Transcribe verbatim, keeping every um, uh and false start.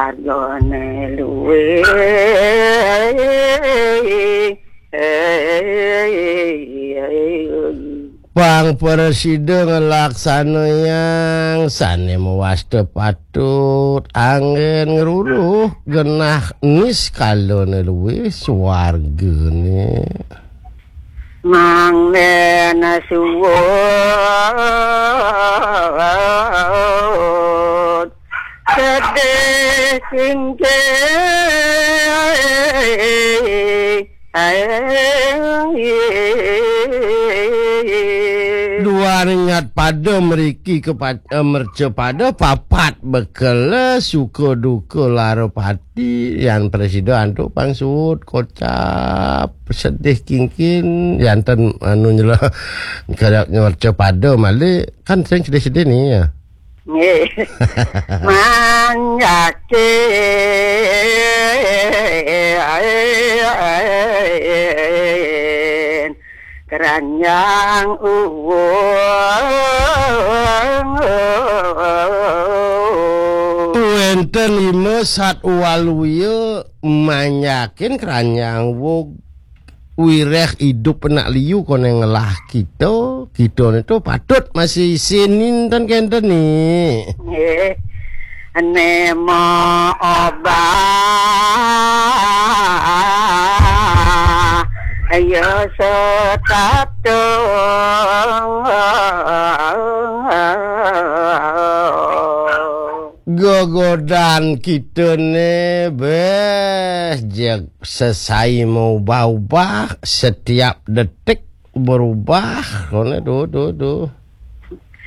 Argane luwih. Pang presida ngelaksanayang sane mawasta patut anggen ngruruh genah niskalane luwih swargane. Mangdene suud sedih singkeh. Duan nyat pada mriki ke pa- eh, merca pada papat bekele suka duka lara pati yan presida antuk pang suud kocap sedih kingkin yanten anu nyela kada merca pada malih kan sering sedih-sedih ni ya. Nggih. Manjakin keranjang uwung. Wenten lima sat waluya manjakin keranjang wug wireh idup anak liu kone ngelah kita, kita ni tu patut masih isin ninten kenten ni. Nggih. Nema obah ya setatung. Gegodan kita ni beh jeg sesai maubah-ubah setiap detik berubah kone tu tu tu.